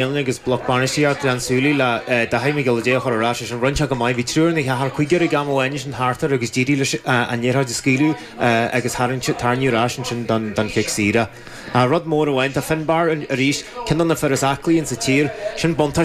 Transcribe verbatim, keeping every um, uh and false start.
agus bloc bainistíocht Ghleann tSúilí le Daithí Mac Giolla Dé a chur ar ais ansin. Rinne sé go maith, bhí triúr nó ceathrar, cúigear ag am amháin ansin thart air agus d'éirigh leis an liathróid a scaoileadh agus tharraing tarraingeadh ar ais ansin don don chic saoire. Rud mór amháin, tá Finbarr arís, ceann de na fir is aclaí insa tír, sin buntáiste